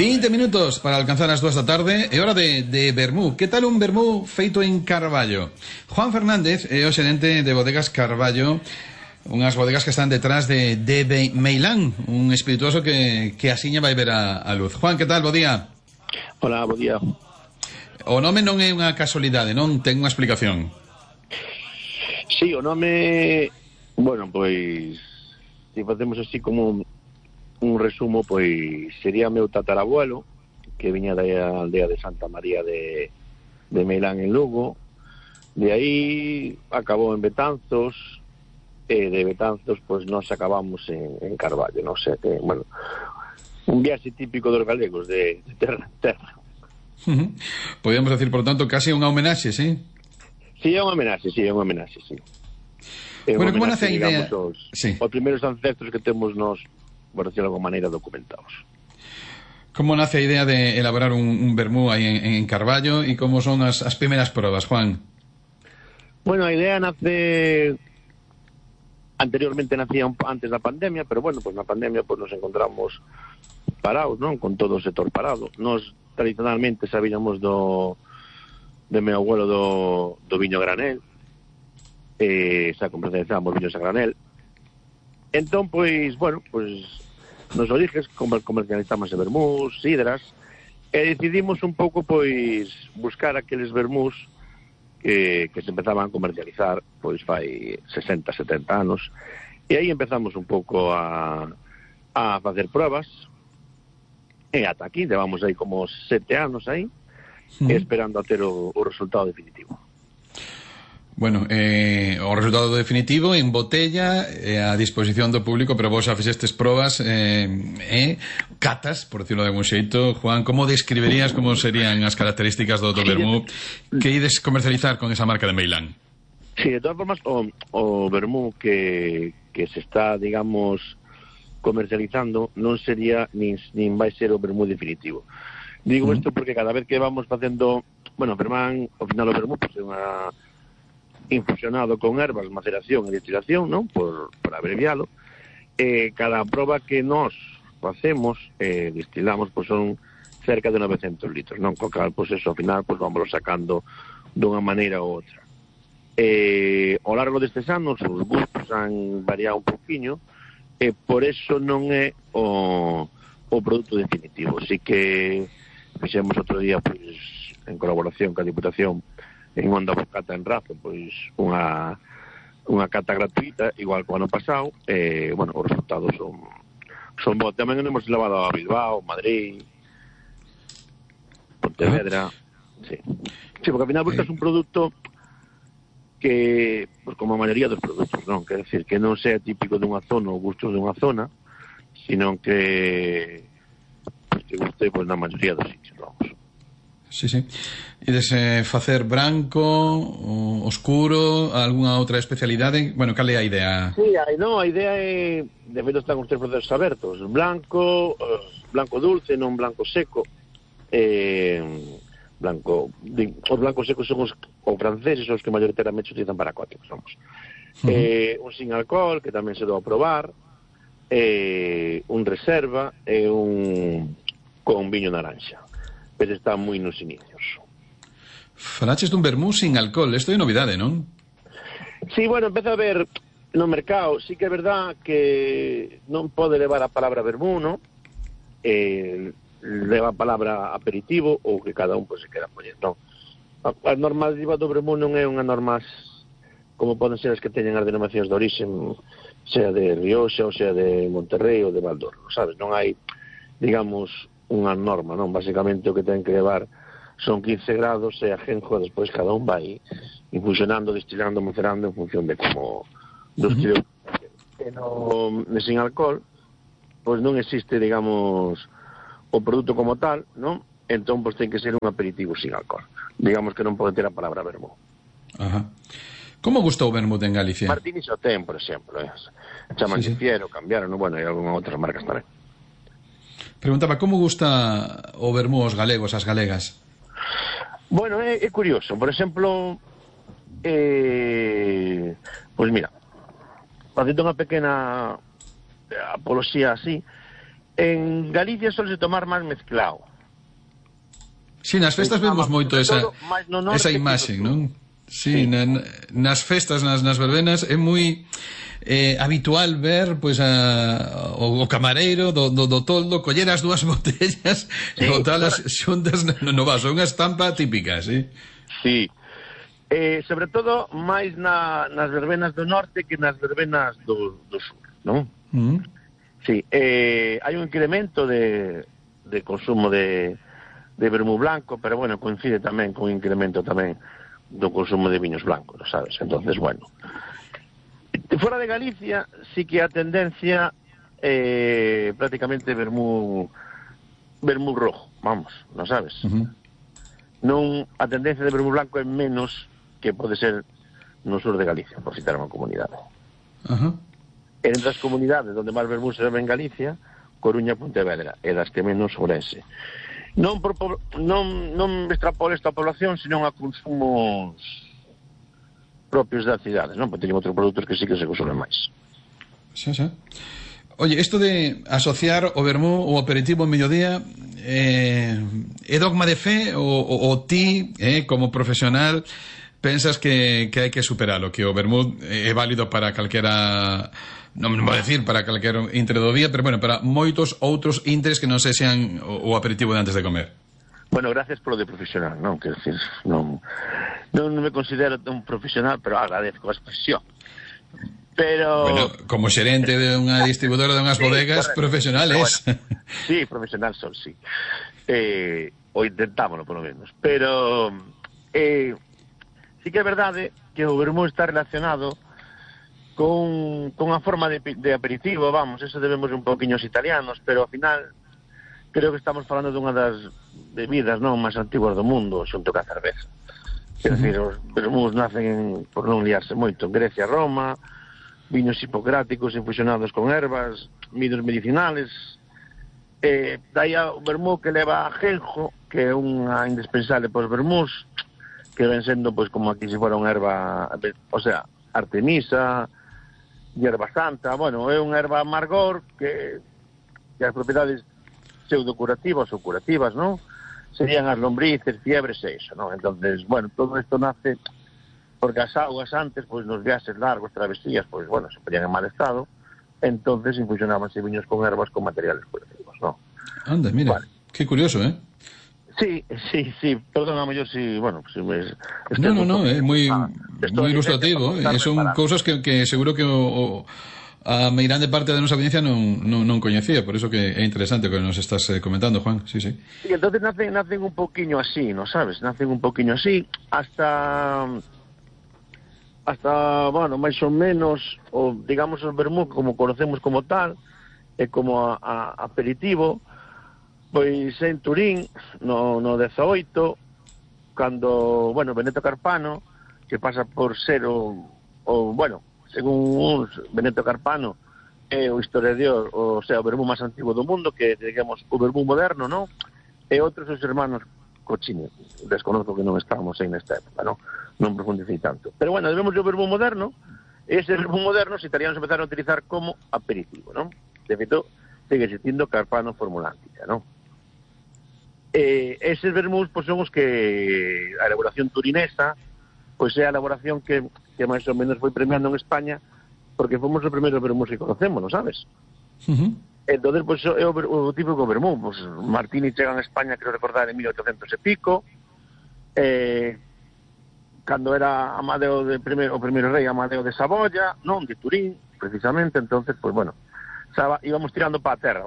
20 minutos para alcanzar as 2 da tarde. É hora de vermú. Que tal un vermú feito en Carballo? Juan Fernández é o xerente de Bodegas Carballo, unhas bodegas que están detrás de Meilán, un espirituoso que asiña vai ver a luz. Juan, que tal? Bo día. Hola, bo día. O nome non é unha casualidade, non? Ten unha explicación. Sí, o nome... Bueno, pois... Se facemos así como un resumo, pois sería meu tatarabuelo, que viña da aldea de Santa María de Meilán en Lugo. De aí acabou en Betanzos, e de Betanzos pois nós acabamos en Carballo, non sei que, bueno, un viaxe típico dos galegos de terra en terra. Podríamos decir, por tanto, casi unha homenaxe, sí? Sí, é unha homenaxe, sí. Bueno, como nace a idea? Os primeiros ancestros que temos nós, por decirlo de alguma maneira, documentados. Como nace a idea de elaborar un vermú aí en Carballo e como son as primeiras probas, Juan? Bueno, a idea nace... Anteriormente nacía antes da pandemia, pero bueno, pues na pandemia pues nos encontramos parados, non? Con todo o sector parado. Nos tradicionalmente sabíamos de meu abuelo do viño granel, xa comercializamos viños a granel. Entón, pois, bueno, pois nos origens comercializamos vermús, sidras, e decidimos un pouco, pois, buscar aqueles vermús que se empezaban a comercializar pois fai 60, 70 anos, e aí empezamos un pouco a facer pruebas, e ata aquí levamos aí como 7 anos aí, esperando a ter o resultado definitivo. Bueno, o resultado definitivo en botella a disposición do público, pero vos xa fixestes probas catas, por decirlo de algún xeito. Juan, como describirías como serían as características do vermú que ides comercializar con esa marca de Meilán? Sí, de todas formas, o vermú que se está, digamos, comercializando non sería nin vai ser o vermú definitivo. Digo isto porque cada vez que vamos facendo, bueno, ao final o vermú pues, é unha infusionado con ervas, maceración e destilación, non? Por abrevialo. Cada proba que nós facemos, destilamos, pois son cerca de 900 litros, non? Co cal, pois eso, ao final, pois vamos sacando dunha maneira ou outra. Ao largo destes anos, os gustos han variado un poquinho, e por eso non é o produto definitivo. Así que fixemos outro día, pois, en colaboración ca Diputación, en Onda Bocata en Razo, pois unha cata gratuita, igual que o ano pasado, bueno, os resultados son bons. Tamén hemos levado a Bilbao, Madrid, Pontevedra, sí, porque ao final buscas un produto que, pues, como a maioría dos produtos, non? Quer decir, que non sea típico dunha zona ou gustos dunha zona, sino que guste, pues, na maioría dos sitios, vamos. Sí. Ides facer branco, oscuro, algunha outra especialidade? Bueno, cal é a idea? Sí, a idea é, de feito están os tres procesos abertos, blanco dulce, non blanco seco. Os blancos secos son os franceses, os que maioritariamente se utilizan para cócteles, vamos. Un sin alcohol, que tamén se dou a probar, un reserva e un con viño naranja. Pero está moi nos inicios. Falaches dun vermú sin alcohol, isto é novidade, non? Sí, bueno, empeza a ver no mercado, sí que é verdad que non pode levar a palabra vermú, non? Leva a palabra aperitivo, ou que cada un pues, se queda poñer, non? A normativa do vermú non é unha norma como poden ser as que teñen as denominacións de origen, sea de Rioxa, ou sea de Monterrey ou de Valdorno, sabes? Non hai, digamos, unha norma, non? Basicamente o que ten que levar son 15 grados e ajenjo, despois cada un vai infusionando, destilando, macerando en función de como dos que sin alcohol, pois non existe, digamos, o produto como tal, non? Entón, pois ten que ser un aperitivo sin alcohol. Digamos que non pode ter a palabra vermú. Ajá. Como gusta o vermut en Galicia? Martini xa ten, por exemplo, chaman Fiero, cambiaron, bueno, e algunhas outras marcas tamén. Preguntaba, como gusta o vermú aos galegos, as galegas? Bueno, é curioso. Por exemplo, pois mira, facendo unha pequena apoloxía así, En Galicia solse tomar máis mezclado. Si, nas festas vemos moito esa imaxe, non? Si, nas festas, nas verbenas, é moi habitual ver pois o camareiro do toldo coller as dúas botellas e botalas xuntas no vaso, unha estampa típica, si? Si. Sobre todo, máis nas verbenas do norte que nas verbenas do sur, non? Si, hai un incremento de consumo de vermú blanco, pero bueno, coincide tamén con un incremento tamén do consumo de viños blancos, sabes? Entonces, bueno, fora de Galicia sí que a tendencia prácticamente vermú rojo, vamos, non sabes? Non, a tendencia de vermú blanco é menos que pode ser no sur de Galicia, por citar unha comunidade. Entre as comunidades onde máis vermú se bebe en Galicia, Coruña e Pontevedra, e das que menos Ourense. Non extrapolo esta población, senón a consumos propios das cidades, non? Porque teñen outros produtos que sí que se consumen máis. Xa. Oye, isto de asociar o vermú ou aperitivo en mediodía é dogma de fe ou ti, como profesional, pensas que hai que superalo, que o vermú é válido para calquera... non vou decir para calquer intre do día, pero bueno, para moitos outros intres que non sexan o aperitivo de antes de comer. Bueno, gracias polo de profesional, non? Quer decir, non me considero un profesional, pero agradezco a expresión. Pero... Bueno, como xerente de unha distribuidora de unhas bodegas, profesionales. Bueno, sí, profesional son, sí. O intentámoslo, polo menos. Pero sí que é verdade que o vermú está relacionado con a forma de aperitivo, vamos, eso debemos un poquinho aos italianos, pero ao final creo que estamos falando dunha das bebidas non máis antiguas do mundo, xunto ca cerveza. Quer decir, os vermús nacen, por non liarse moito, en Grecia, Roma, viños hipocráticos infusionados con ervas, viños medicinales, daí o vermú que leva a ajenjo, que é unha indispensable pos vermús, que ven sendo pois como aquí se fora unha erva, o sea, artemisa, hierba santa, bueno, é unha erva amargor que as propiedades pseudocurativas ou curativas, non? Serían as lombrices, fiebres e iso, non? Entonces, bueno, todo isto nace porque as augas antes, pois nos viaxes largos, travesías, pois, bueno, se poñían en mal estado, entonces infusionábanse viños con ervas con materiales curativos, non? Anda, mira, vale. Que curioso, Sí, perdóname yo si, bueno, si me... No, é moi ilustrativo, son cousas que seguro que a meirande parte da nosa audiencia non coñecía, por eso que é interesante o que nos estás comentando, Juan, sí. Sí, entonces nacen un poquinho así, ¿no sabes? Nacen un poquinho así, hasta bueno, máis ou menos, o digamos o vermú como conocemos como tal, e como aperitivo, pois en Turín, no 18, cando, bueno, Benedetto Carpano, que pasa por ser bueno, según uns, Benedetto Carpano é o historiador, o sea, o vermú máis antigo do mundo, que, digamos, o vermú moderno, non? E outros os hermanos Cochini, desconozco que non estábamos aí nesta época, non profundicei tanto. Pero, bueno, debemos o vermú moderno, e ese vermú moderno os italianos empezaron a utilizar como aperitivo, non? De feito, sigue existindo Carpano Formulántica, non? Eses vermús pois, son os que a elaboración turinesa pois é a elaboración que máis ou menos foi premiando en España, porque fomos os primeiros vermús que conocemos, non sabes? Entonces, pois, é o típico vermú, pois, Martini chega en España, creo recordar, en 1800 e pico, cando era Amadeo o primeiro rei Amadeo de Saboya, non, de Turín, precisamente, entonces, pois, bueno, íbamos tirando para a terra.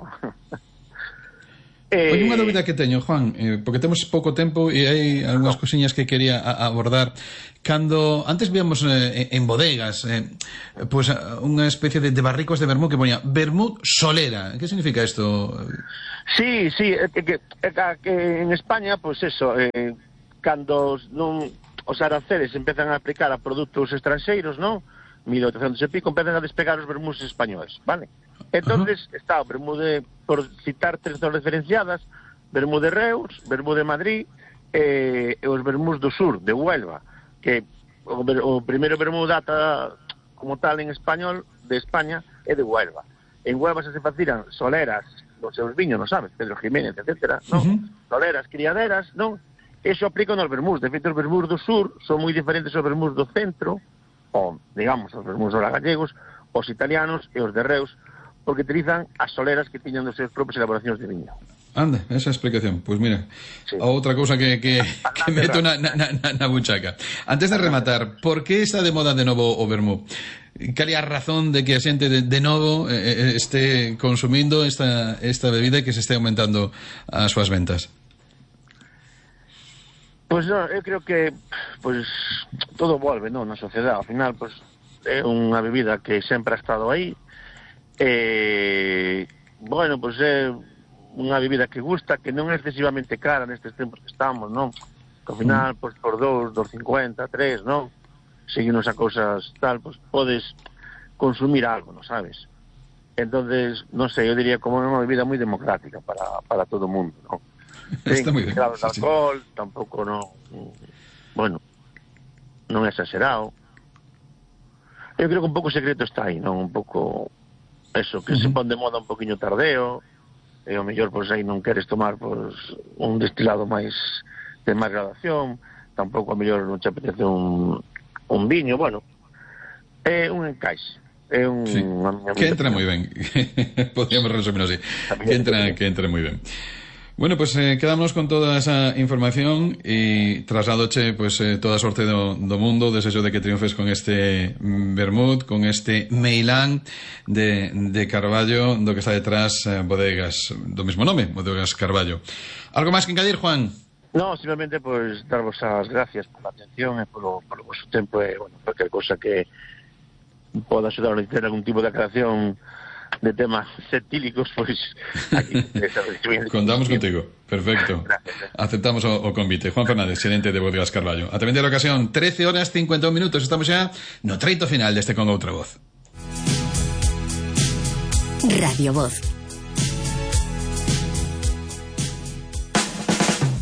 Oye, unha dúbida que teño, Juan, porque temos pouco tempo e hai algunhas cosiñas que quería abordar. Cando antes víamos en bodegas pois unha especie de barricos de vermú que poña vermú solera. Que significa isto? Sí, que en España, pois eso, cando os aranceles empezan a aplicar a produtos estranxeiros, non? 1800 e pico, empezan a despegar os vermús españoles, vale? Entonces está o vermú por citar tres zonas diferenciadas, vermú de Reus, vermú de Madrid e os vermús do sur, de Huelva, que o primeiro vermú data como tal en español de España é de Huelva. En Huelva se facían soleras dos seus viños, non sabes? Pedro Jiménez, etcétera, non? Soleras, criaderas, non? Eso aplica nos vermús. De feito, os vermús do sur son moi diferentes aos vermús do centro, ou, digamos, os vermús dos gallegos, os italianos e os de Reus, porque utilizan as soleras que tiñan dos seus propios elaboracións de viño. Anda, esa explicación. Pois mira, outra cousa que meto na buchaca. Antes de rematar, por que está de moda de novo o vermú? Cal é a razón de que a xente de novo este consumindo esta bebida e que se este aumentando as súas ventas? Pois non, eu creo que todo volve, non, na sociedade. Ao final, é unha bebida que sempre ha estado aí. Bueno, é unha bebida que gusta, que non é excesivamente cara nestes tempos que estamos, non? Que ao final, por 2,50, 3, non? Seguimos a cousas tal, podes consumir algo, non sabes? Entonces, non sei, eu diría como unha bebida moi democrática para todo o mundo, non? Está moi ben. Claro, de alcohol, tampouco non... Bueno, non é exagerado. Eu creo que un pouco o secreto está aí, non? Un pouco... Eso, que se pon de moda un poquinho tardeo, e ao mellor, aí non queres tomar un destilado de máis gradación, tampouco ao mellor non te apetece un viño, bueno, é un encaixe. É un... Sí. Que entra moi ben. Podríamos resumir así. Que entra moi ben. Bueno, pues quedámonos con toda esa información e trasladoche toda a sorte do mundo, desexo de que triunfes con este vermut, con este meilán de Carballo, do que está detrás bodegas do mesmo nome, Bodegas Carballo. Algo máis que engadir, Juan? No, simplemente darvos as gracias por a atención e polo vosso tempo e, bueno, cualquier cosa que poda axudar a ter algún tipo de aclaración de temas septílicos, aquí contamos contigo, perfecto. Gracias. Aceptamos o convite. Juan Fernández, xerente de Bodegas Carballo. A vender a ocasión, 13h51, estamos xa no treito final deste Con Outra Voz. Radio Voz.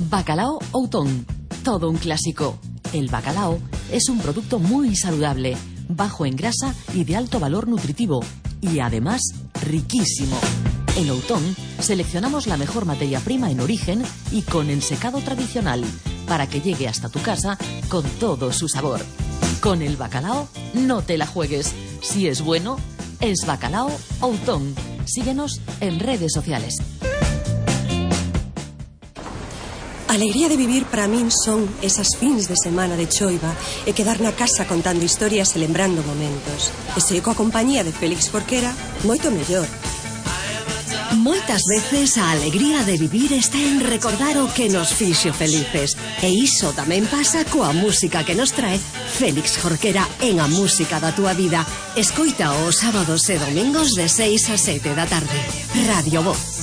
Bacalao Outón, todo un clásico. El bacalao es un producto muy saludable, bajo en grasa y de alto valor nutritivo. Y además, riquísimo. En Outón seleccionamos la mejor materia prima en origen y con ensecado tradicional para que llegue hasta tu casa con todo su sabor. Con el bacalao no te la juegues. Si es bueno, es Bacalao Outón. Síguenos en redes sociales. A alegría de vivir para min son esas fins de semana de choiva e quedar na casa contando historias e lembrando momentos. E se coa compañía de Félix Jorquera, moito mellor. Moitas veces a alegría de vivir está en recordar o que nos fixo felices. E iso tamén pasa coa música que nos trae Félix Jorquera en A Música da Túa Vida. Escoita os sábados e domingos de 6 a 7 da tarde. Radio Voz.